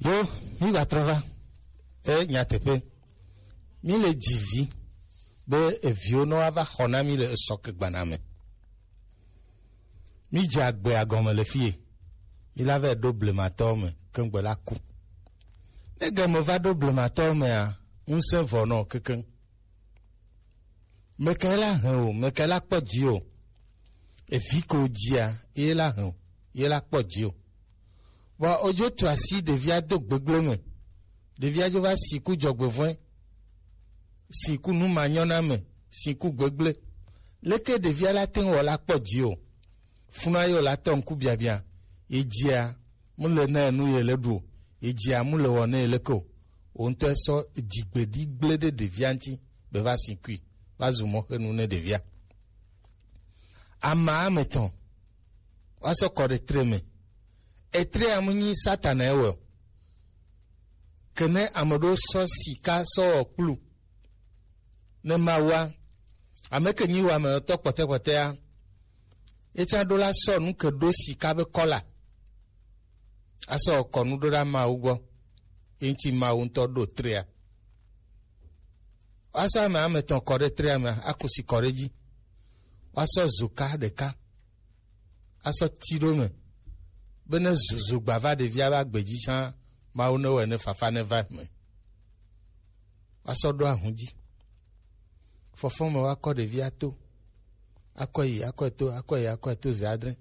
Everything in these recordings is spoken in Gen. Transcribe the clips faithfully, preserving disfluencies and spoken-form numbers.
Yo, mi va trɔ va. E nyateƒe. Mi le dzi vi be eviwo nɔ wa va xɔ na mi le esɔ ke gbana me. Mi dze agbe agɔme le fie. Mi la va ɖo blematɔwo me keŋgbe la ku. Ne game va ɖo blematɔwo mea, ŋusẽ vɔ nɔ kekeŋ. Mekae la hɛn o, mekae la kpɔ dzi o. Evi ko dzia, ye la hɛn o, ye la kpɔ dzi o. Vɔ odzo tu asi ɖevia do gbegblẽ me. Ɖevia dzo va si ku dzɔgbevɔ̃e, si ku nu manyɔna me, si ku gbegblẽ. Leke ɖevia la te ŋu wɔ la kpɔ dzi o? Funua ye wòle atɔ ŋku biabia, ye dzia mu le na nu ye le ɖu o, ye dzia mu le wɔ ne ye leke o. Wo ŋutɔ sɔ dzigbeɖi gblẽ ɖe ɖevia ŋuti be va si kui, va zu mɔxenu ne ɖevia. Ama ame etɔ̃ wa sɔ kɔ ɖe tre me. Etre amu nyi Satana ewɔ. Ke ne ame ɖewo sɔ sika sɔ wɔ kplu ne Mawua, ame ke nyi wameyɔtɔ kpɔtɛkpɔtɛa, etsã ɖo la sɔ nu ke ɖo sika be kɔla asɔ kɔ nu ɖo ɖa Mawu gbɔ, ye ŋuti Mawu ŋutɔ ɖo trea. Woasɔ ame ame etɔ̃ kɔ ɖe trea me, aku si kɔ ɖe edzi. Woasɔ zoka ɖeka asɔ ti ɖo me, be ne zo- zogba va ɖevia be agbe dzi tsã, Mawu ne wɔe ne fafa ne va me. Woasɔ ɖo ahun dzi. Fɔfɔ me woakɔ ɖevia to, akɔ yi, akɔe to, akɔ yi, akɔe to ze adre.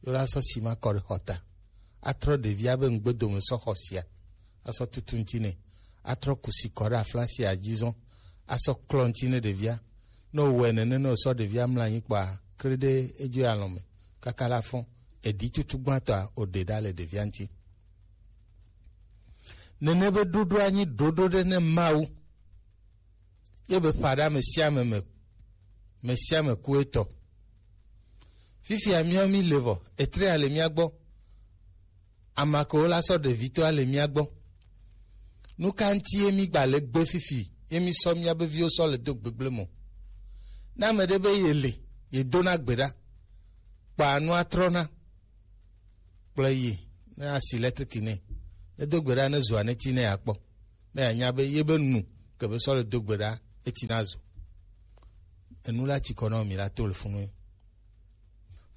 Ye la sɔ sima kɔ ɖe xɔta. Atrɔ ɖevia be ŋgbedome sɔ xɔ sia. Asɔ tutu ŋuti nɛ. Atrɔ kusi kɔ ɖe aflasia dzi zɔn. Asɔ klɔ ŋuti ne ɖevia. Ne wòwɔe nene, ne wòsɔ ɖevia mlɔ anyi kpɔa, kre ɖe edzo alɔ me. Kaka la fɔn. Eɖi tutu gbãtɔa, wòɖe ɖa le ɖevia ŋuti. Nene be ɖoɖoa nyi ɖoɖo ɖe ne Mawu. Ye be ƒa ɖe ame sia ame me, ame sia ame ku etɔ. Fifia míawo mi le vɔ, etrea le mía gbɔ. Amakewo la sɔ ɖevitɔa le mía gbɔ. Nu ka ŋuti ye mi gba le gbe fifi, ye mi sɔ míabe viwo sɔ le do gbegblẽ me o? Ne ame ɖe be ye le, ye dona gbe ɖa, kpɔa nua trɔna. Kplɔe yi ne asi lɛtriki nɛ. Ne do gbe ɖa ne zoa ne ti ne yeakpɔ. Ne yeanya be ye be nu ke be sɔ le do gbe ɖa eti na zo. Enu la tsi kɔ na mi la to le funu.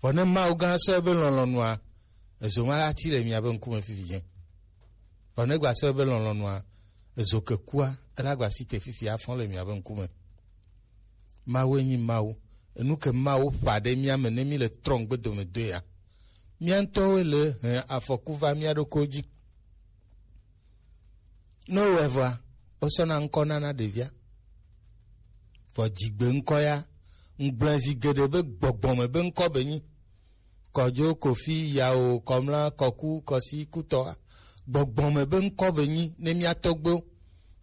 Vɔ ne Mawu gã sɔ ebe lɔlɔ̃nua, ezo ma la ti le miabe ŋkume fifi dze. Vɔ ne gba sɔ ebe lɔlɔ̃nua, ezo ke kua, ela gba si te fifi afɔ le miabe ŋkume. Mawue nyi Mawu. Enu ke Mawu ƒã ɖe mía me ne mí le trɔ ŋgbe dome doea, mía ŋutɔwoe le hẽ afɔku va mía ɖokuiwo dzi. Ne wowɔe vɔa, wosɔna ŋkɔ nana ɖevia. Vɔ dzigbe ŋkɔ ya, ŋgblẽ zi geɖe be gbɔgbɔme be ŋkɔ be nyi. Kɔdzo, Kofi, Yawo, Kɔmla, Kɔku, Kɔsi, Kutɔ. Gbɔgbɔme be ŋkɔ be nyi ne mía tɔgbewo.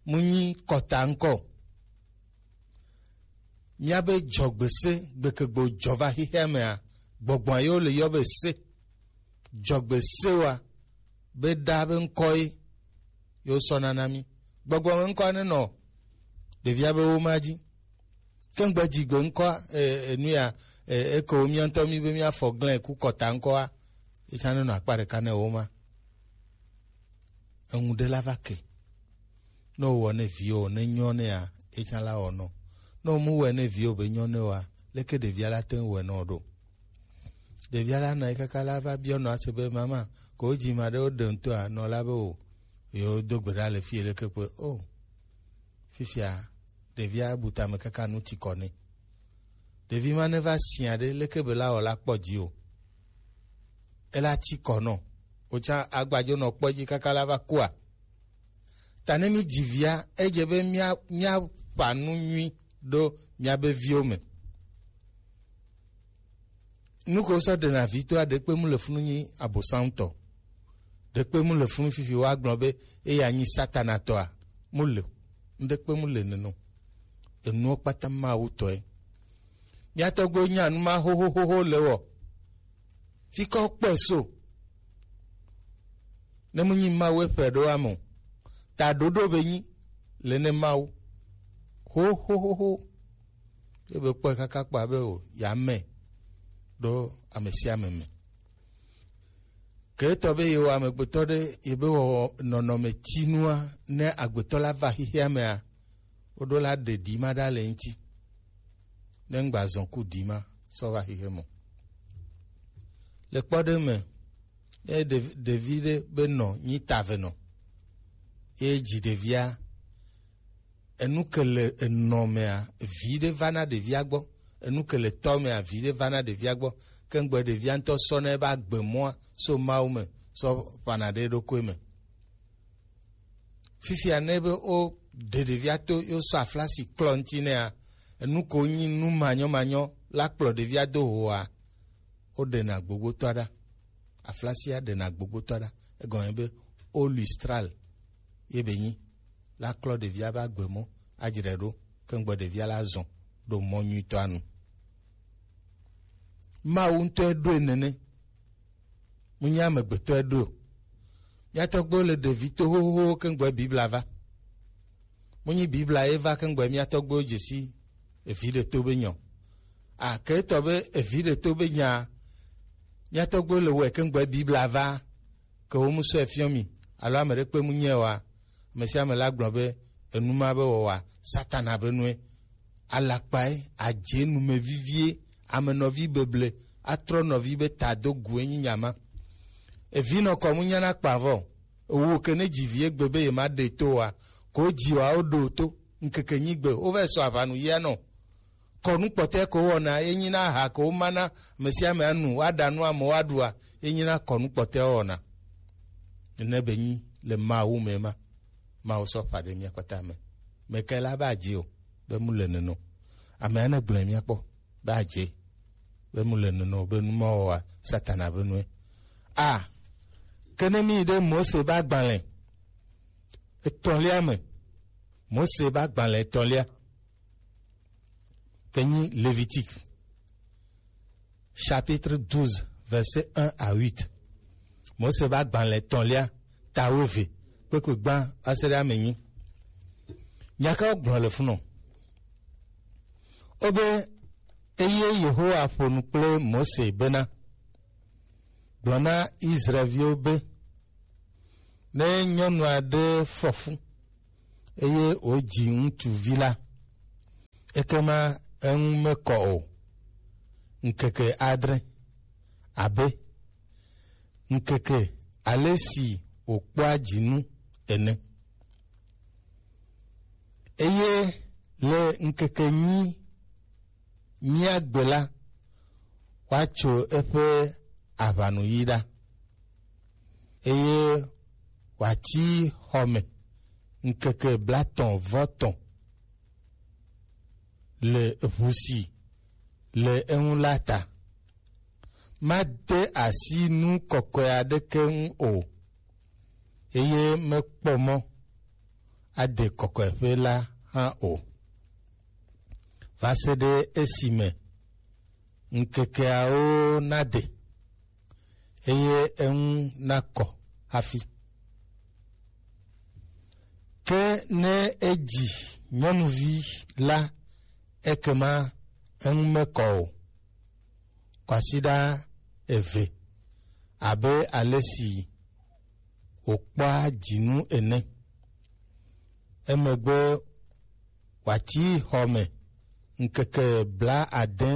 Mu nyi kɔta ŋkɔ o. Míabe dzɔgbese gbekegbe jɔ va xexea mea, gbɔgbɔa yewo le yɔ be se. Dzɔgbesewoa, be ɖa be ŋkɔ ye yewo sɔna na mí. Gbɔgbɔme ŋkɔa nenɔ ɖevia be woma dzi. Ke ŋgbe dzigbe ŋkɔa, e, e, nu ya, e, eke wo mía ŋutɔ mí be míafɔ glẽ ku kɔta ŋkɔa, ye tsã nenɔ akpa ɖeka ne woma. Eŋu ɖe la va ke. Ne wowɔ ne viwo, ne nyɔ nɛa, ye tsã la wɔ nɔ. Ne womu wɔe ne viwo be nyɔ ne woa, leke ɖevia la te ŋu wɔe nɔ ɖo? Ɖevia la nɔ anyi kaka la va biɔ nɔa se be, "Mama, ko wodzi ma ɖe wo ɖe ŋutɔa?" Nɔ la be, "O, yewo do gbe ɖa le fie leke kpe." O, fifia, ɖevia bu tame kaka nu ti kɔ nɛ. Ɖevi ma ne va sia ɖe, leke be la wɔ la kpɔ dzi o. Ela ti kɔ nɔ. Wotsa agbadzo nɔ kpɔ dzi kaka la va kua. Ta ne mi dzi via, edze be mía, mía ƒa nu nyui ɖo míabe viwo me. Nu ke wosɔ ɖena vi toa, ɖekpe mu le funu nyi Abosam tɔ. Ɖekpe mu le funu fifi woagblɔ be eya nyi Satana tɔa, mu le o. Ŋɖekpe mu le nene o. Enuwo kpata Mawu tɔe. Mía tɔgbuiwo nya nu ma xoxoxoxo le wɔ. Fi kɔ kpɔe so. Ne mu nyi Mawu eƒe ɖo ame o. Ta ɖoɖo be nyi le ne Mawu. Xoxoxoxo. Ebe kpɔe kaka kpɔ abe o, ya me ɖo ame sia ame me. Ke etɔ be yewo amegbetɔ ɖe yebe wɔ nɔnɔme tinua, ne agbetɔ la va xexea mea, woɖo la ɖe ɖi ma ɖa le ŋuti. Ne ŋgba zɔn ku ɖi ma sɔ va xexe mɔ. Le kpɔɖe me, ne ɖevi ɖe be nɔ nyi ta ve nɔ, ye dzi ɖevia, enu ke le enɔ mea, vi ɖe va na ɖevia gbɔ. Enu ke le tɔ mea, vi ɖe va na ɖevia gbɔ. Ke ŋgbe ɖevia ŋutɔ sɔ na ebe agbe mɔa so Mawu me sɔ ƒana ɖe eɖokui me. Fifia ne be wo ɖe ɖevia to yo sɔ aflasi klɔ ŋuti nɛa, enu ko nyi nu manyɔmanyɔ la kplɔ ɖevia do hoa, wo ɖena gbogbotɔa ɖa. Aflasia ɖena gbogbotɔa ɖa. Egɔme be o lustral ye be nyi la klɔ ɖevia be agbe mɔ adzre ɖo, ke ŋgbe ɖevia la zɔn ɖo mɔ nyuitɔa nu. Mawu ŋutɔe ɖoe nene. Mu nyi amegbetɔe ɖoe o. Mía tɔgbuiwo le ɖevi to xoxoxo ke ŋgbe Biblia va. Mu nyi Biblia ye va ke ŋgbe mía tɔgbuiwo dze si evi ɖe to be nya o. A ke etɔ be evi ɖe to be nya, mía tɔgbuiwo le wɔe ke ŋgbe Biblia va. Ke wo mu sɔe fiɔ mi, alo ame ɖe kpe mu nyɛ oa, ame sia ame la gblɔ be enu ma be wɔwɔa, Satana be nue. Alakpae, adze numevivie, amenɔvi beble, atrɔ nɔvi be ta do gu enyi nya ma. Evi nɔ kɔ mu nyana kpa vɔ. Ewo ke ne dzi vi egbe be ye ma ɖe to wa, ko dzi wa wo ɖo to, ŋkeke nyi gbe, wo va sɔ aʋanu yia nɔ. Kɔnu kpɔtɛ ko wɔna, ye nyina aha ko mana ame sia ame anu, woaɖa nu amewo aɖua, ye nyina kɔnu kpɔtɛ wɔna. Nene be nyi le Mawu me ma. Mawu sɔ ƒa ɖe mía kpata me. Meke la ba dzi o, be mu le neno. Ame ane gblɔe mía kpɔ, ba dzi, be mu le neno, be nu ma wɔa, Satana be nue. A, ke ne mi ɖe Mose ba gbalẽ etɔ̃lia me, Mose ba gbalẽ etɔ̃lia, ke nyi Lévitique, chapitre douze, verset un à huit. Mose ba gbalẽ etɔ̃lia, ta wuieve, kpekpe gbã va se ɖe ame enyi. Nya ka wogblɔ le funɔ? Wobe, eye Yehowa ƒo nu kple Mose bena, gblɔ na Israelviwo be, ne nyɔnu aɖe fɔ fu, eye wòdzi ŋutsuvi la, ekema eŋu mekɔ o ŋkeke adre, abe ŋkeke ale si wòkpɔa dzinu ene. Eye le ŋkeke enyi nyia gbe la, woatso eƒe aʋanuyi ɖa, eye wòatsi xɔ me ŋkeke blaetɔ̃ vɔ tɔ̃ le ʋu si le eŋu la ta. Made asi nu kɔkɔe aɖeke ŋu o, eye mekpɔ mɔ ade kɔkɔeƒe la hã o, va se ɖe esime ŋkekeawo nade, eye eŋu nakɔ hafi. Ke ne edzi nyɔnuvi la, ekema eŋu mekɔ o. Kwasiɖa eve, abe ale si wòkpɔa dzinu ene. Emegbe wòatsi xɔ me ŋkeke blaade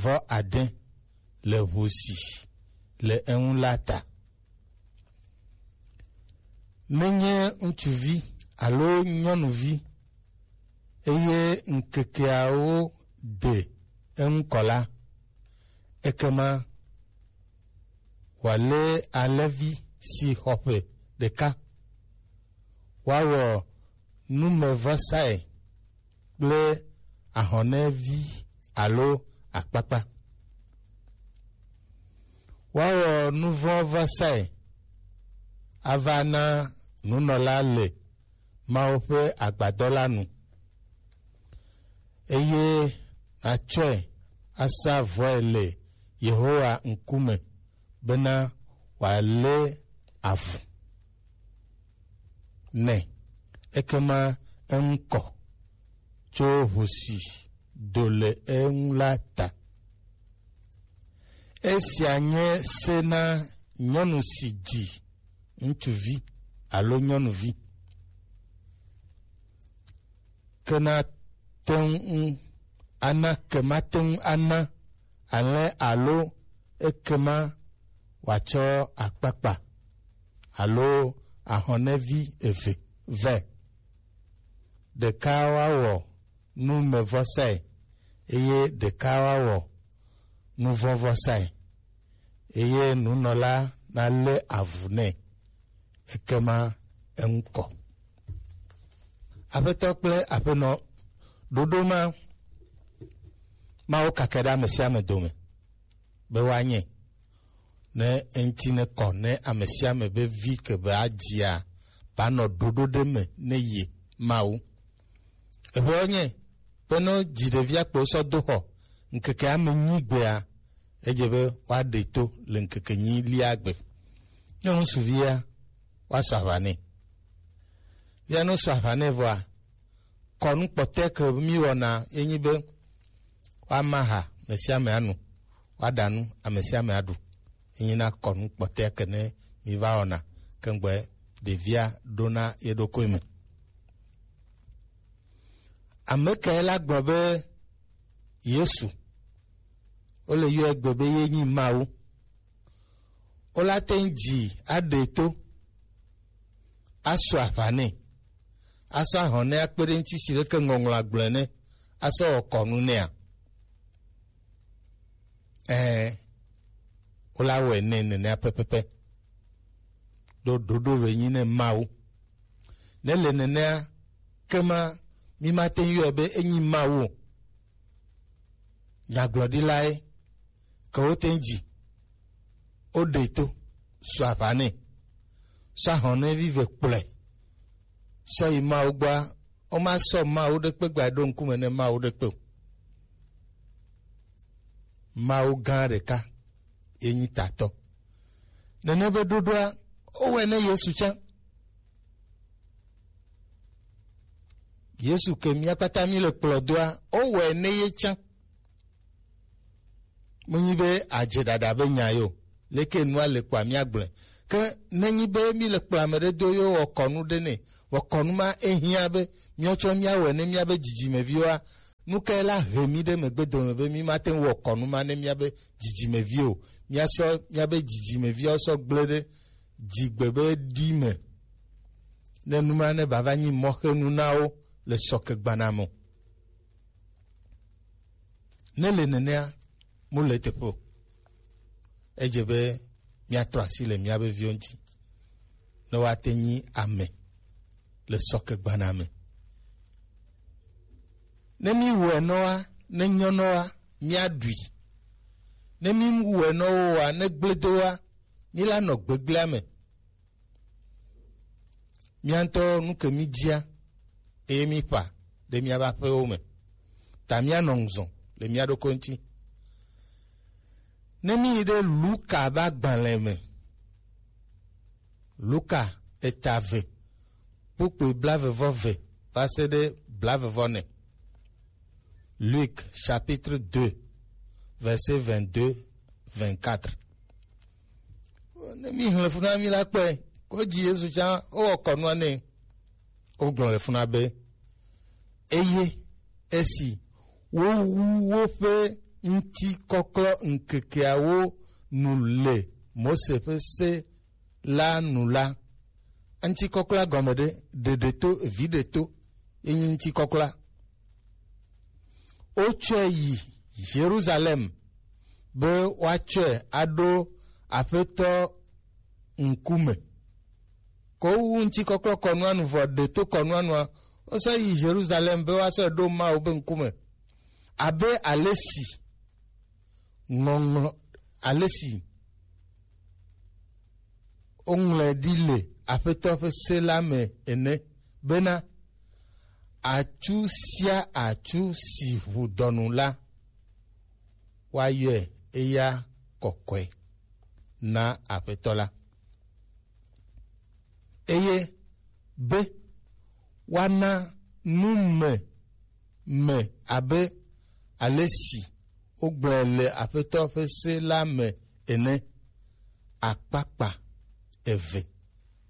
vɔ ade le ʋu si le eŋu la ta. Menye ŋutsuvi alo nyɔnuvi, eye ŋkekeawo de eŋu kɔ la, ekema wòalé alẽvi si xɔ ƒe ɖeka, woawɔ numevɔsae kple ahɔnɛvi alo akpakpa. Woawɔ nuvɔ̃vɔsae ava na nunɔla le Mawu ƒe agbadɔ la nu, eye nàtsɔe asa vɔe le Yehowa ŋkume bena wòalé avu nɛ. Ekema eŋu kɔ tso ʋu si do le eŋu la ta. Esia nye se na nyɔnu si dzi ŋutsuvi alo nyɔnuvi. Ke na te ŋu ana, ke ma te ŋu ana alẽ alo ekema wòatsɔ akpakpa alo ahɔnɛvi eve vɛ. Ɖeka woawɔ numevɔsae eye ɖeka woawɔ nuvɔ̃vɔsae, eye nunɔla nalé avu nɛ, ekema eŋu kɔ. Aƒetɔ kple aƒenɔ, ɖoɖo ma, Mawu kake ɖe ame sia ame dome be woanye, ne eŋuti nekɔ ne ame sia ame be vi ke be adzia banɔ ɖoɖo ɖe me ne ye Mawu. Eƒe nye be ne dzi ɖevia kpo sɔ do xɔ ŋkeke ame nyi gbea, edze be woaɖe to le ŋkeke nyi lia gbe. Ne ŋutsuvia, woasɔ aʋa nɛ. Via ne wosɔ aʋa nɛ vɔa, kɔnu kpɔtɔe ke mi wɔna ye nyi be woama ha ame sia ame anu, woaɖa nu ame sia ame aɖu. Ye nyi na kɔnu kpɔtɔe ke ne mi va wɔna ke ŋgbɔe ɖevia ɖona ye ɖokui me. Ame kae la gblɔ be Yesu, wole yɔe egbe be ye nyi Mawu? Wola te ŋu dzi aɖe to, asɔ aʋa nɛ, asɔ ahɔn nɛ akpe ɖe ŋuti si leke ŋɔŋlɔ agblɔe ne, asɔ wɔ kɔnu nɛa? Ɛɛ, wola wɔe nɛ nenea pɛpɛpɛ. Ɖo ɖoɖo be nyi ne Mawu. Ne le nenea, kema mi mate ŋu yɔe be enyi Mawu o. Nyagblɔɖilae ke wote ŋu dzi, woɖe to, sɔ aʋa nɛ, sɔ ahɔn nɛ vive kplɔe, sɔ yi Mawu gbɔa, woma sɔ Mawu ɖekpe gba ɖo ŋkume ne Mawu ɖekpe o. Mawu gã ɖeka ye nyi tatɔ. Nene be ɖoɖoa, wowɔe ne Yesu tsã. Yesu ke mía kpata mí le kplɔ doa, wowɔe ne ye tsã. Menyi be adze ɖaɖa be nya yo, leke nua le kpɔa mía gblɔe. Ke nenyi be mí le kplɔ ame ɖe do yo wɔ kɔnu ɖe nɛ, wɔ kɔnu ma ehiã be míawo tsɔ míawɔe ne míabe dzidzimeviwoa, nu kae la he mí ɖe megbe dome be mí mate ŋu wɔ kɔnu ma ne míabe dzidzimevi o? Míasɔ míabe dzidzimeviawo sɔ gblẽ ɖe dzigbe be ɖi me, ne nu ma ne bava nyi mɔxenu na wo le sɔkegbana me o. Ne le nenea, mu le teƒe o. Edze be míatrɔ asi le míabe viwo ŋuti, ne woate nyi ame le sɔkegbana me. Ne míwɔe nɔwa, ne nyɔ nɔwa, míaɖui. Ne míwɔe nɔwoa, ne gblẽ do wa, míla nɔ gbegblẽa me. Mía ŋutɔ nu ke mí dzia, eye mí ƒã ɖe míabe aƒewo me. Ta míanɔ ŋuzɔ le mía ɖokui ŋuti. Ne mí yi ɖe Luka be agbalẽ me, Luka eta eve, kpukpui blaeve vɔ eve va se ɖe blaeve vɔ ene. Luc chapitre deux, verset vingt-deux, vingt-quatre. Ne mí xlẽ fu na mí la kpɔe, ko dzi Yesu tsã, wowɔ kɔnua nɛ. Wogblɔ le funa be, eye esi wowu woƒe ŋutikɔklɔ ŋkekeawo nu le Mose ƒe se la nu la, ŋutikɔklɔa gɔme ɖe, ɖeɖe to, vi ɖe to, ye nyi ŋutikɔklɔa. Wotsɔe yi Yerusalem be woatsɔe aɖo Aƒetɔ ŋkume. Ko wowu ŋutikɔklɔ kɔnua nu vɔ ɖe to kɔnua nua, wosɔ yi Yerusalem be woasɔ ɖo Mawu be ŋkume. Abe ale si ŋɔŋlɔ, ale si woŋlɔe ɖi le Aƒetɔ ƒe se la me ene, bena, atsu sia atsu si ʋu dɔnu la, woayɔe eya kɔkɔe na Aƒetɔ la. Eye be woana nu me, me abe ale si wogblɔe le Aƒetɔ ƒe se la me ene. akpakpa eve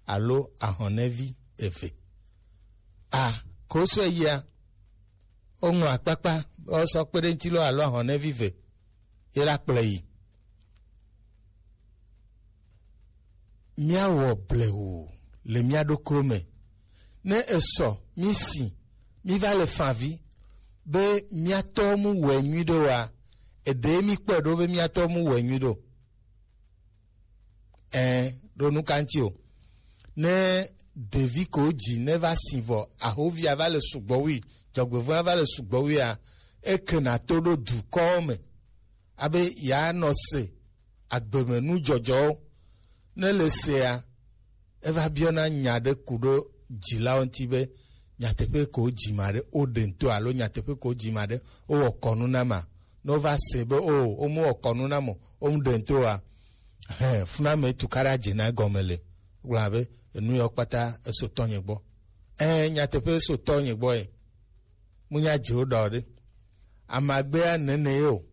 alo ahɔnɛvi eve. A, koso eyia, woŋlɔ akpakpa, wosɔ kpe ɖe ŋuti lo alo ahɔnɛvi eve, ye la kplɔe yi. Míawɔ blewu le mía ɖokuiwo me. Ne esɔ, mí si, mí va le favi be mía tɔwo mu wɔe nyui ɖe oa, eɖe mí kpɔe ɖo be mía tɔwo mu wɔe nyui ɖo. Ɛɛ, ɖo nu ka ŋuti o. Ne ɖevi ko dzi ne va si vɔ, ahovia va le sugbɔ wui, dzɔgbevɔ̃a va le sugbɔ wuia, ekena to ɖo dukɔwo me, abe yeanɔ se agbemenu dzɔdzɔwo. Ne le sea, eva biɔna nya ɖe ku ɖo dzilawo ŋuti be, nyateƒe ko dzi ma ɖe, woɖe ŋto alo nyateƒe ko dzi ma ɖe, wowɔ kɔnu na ma. Ne wova se be o, womewɔ kɔnu na mo, womu ɖe ŋto oa, hɛn, funa me tukaɖa dze na egɔme le. Gblɔ be, enu yawo kpata eso tɔnye gbɔ. Ɛɛ, nyateƒe eso tɔnye gbɔ ye. Mu nya dzi wo ɖɔ ɖe. Amagbea nene ye o.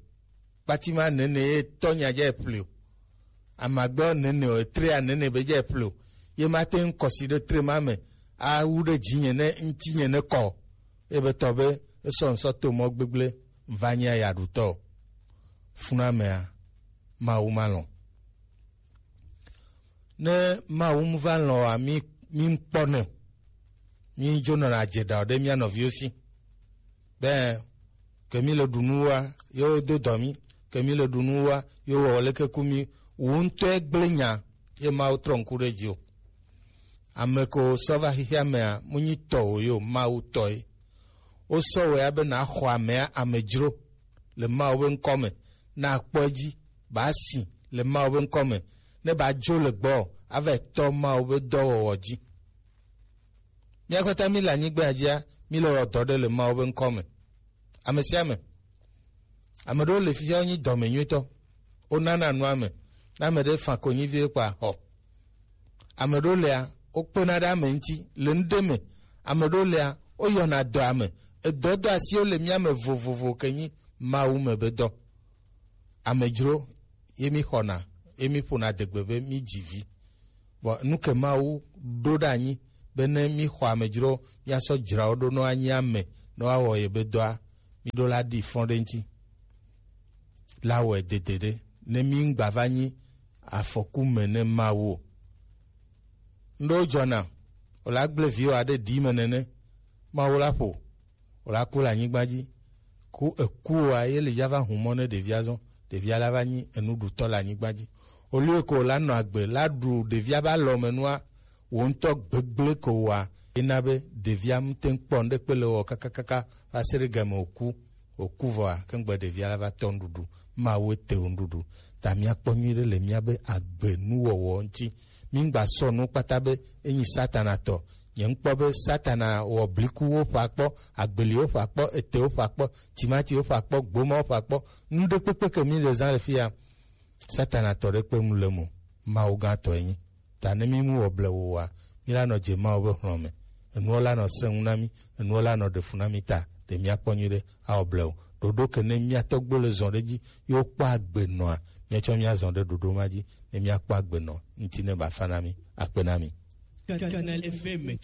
Kpatima nene ye tɔ nya dze ple o. Amagbea nene o, etrea nene be dze ple o. Ye ma te ŋu kɔsi ɖe tre ma me. Awu ɖe dzinye ne ŋutinye ne kɔ. Ebe tɔ be esɔ ŋsɔ to mɔ gbegble ŋva nya ya ɖutɔ. Funa mea, Mawu ma lɔ̃. Ne Mawu mu va lɔ̃ wa, mi, mi kpɔ ne. Mi dzo nɔna dze ɖa ɖe mía nɔviwo si. Be, ke mi le ɖu nu wa, yo do dɔ mi, ke mi le ɖu nu wa, yo wɔ leke ku mi, wo ŋutɔe gblẽ nya, ye Mawu trɔ ŋku ɖe dzi o. Ame ko sɔ va xexea mea, mu nyi tɔ o yo, Mawu tɔe. Wosɔ wɛ abe na xɔ amea amedzro le Mawu be ŋkɔ me, na kpɔ edzi, ba si le Mawu be ŋkɔ me, ne ba dzo le gbɔ, ava tɔ Mawu be dɔwɔwɔ dzi. Mía kpata mi le anyigba dzia, mi le wɔ dɔ ɖe le Mawu be ŋkɔ me. Ame sia ame. Ame ɖewo le fifia wonyi dɔme nyuitɔ. Wonana nu ame. Ne ame ɖe fa konyi vie kpa xɔ. Ame ɖewo lea, wokpena ɖe ame ŋuti le nu ɖe me. Ame ɖewo lea, woyɔna dɔ ame. Edɔdɔ asiwo le mía me vovovo ke nyi Mawu me be dɔ. Amedzro ye mi xɔna, ye mi ƒona degbe be mi dzi vi. Vɔ nu ke Mawu ɖo ɖe anyi be ne mi xɔ amedzro, mia sɔ dzra wo ɖo nɔ anyi ame nɔ awɔ ye be dɔa, mi ɖo la ɖi fɔn ɖe ŋuti. La wɔe dede ɖe ne mi ŋgba va nyi afɔku me ne Mawu o. Ŋɖewo dzɔna, wòla gblẽ viwò aɖe ɖi me nene, Mawu la ƒo, wòla ku le anyigba dzi. Ku eku oa, ye le ya va hu mɔ ne ɖevia zɔn, ɖevia la va nyi enuɖutɔ le anyigba dzi. Olio ko la nɔ agbe, la ɖu ɖevia be alɔmenua, wò ŋutɔ gbegblẽ ko wa, ye na be ɖevia ŋute ŋkpɔ ŋɖekpe le wɔ kakakaka va se ɖe game wòku. Wòku vɔa, ke ŋgbe ɖevia la va tɔ nuɖuɖu. Mawu ete wo nuɖuɖu. Ta míakpɔ nyuiɖe le míabe agbe nuwɔwɔ ŋuti. Míŋgba sɔ nu kpata be enyi Satana tɔ. Nye ŋkpɔ be Satana wɔ blikuwo ƒe akpɔ, agbeliwo ƒe akpɔ, etewo ƒe akpɔ, timatiwo ƒe akpɔ, gbomawo ƒe akpɔ, nu ɖekpekpe ke mi le zã le fia, Satana tɔ ɖe kpe mu le mo, Mawu gã tɔ enyi. Ta ne mi mu wɔ blewu wa, mi la nɔ dze Mawu be hlɔ̃ me. Enuɔ la nɔ sẽŋu na mi, enuɔ la nɔ ɖe fu na mi ta, ɖe míakpɔ nyuiɖe awɔ blewu. Ɖoɖo ke ne mía tɔgbo le zɔn ɖe dzi, yo kpɔ agbe nɔa, míatsɔ mía zɔn ɖe ɖoɖo ma dzi, ne míakpɔ agbe nɔ, ŋuti ne ba fa na mi, akpe na mi. Canal F M.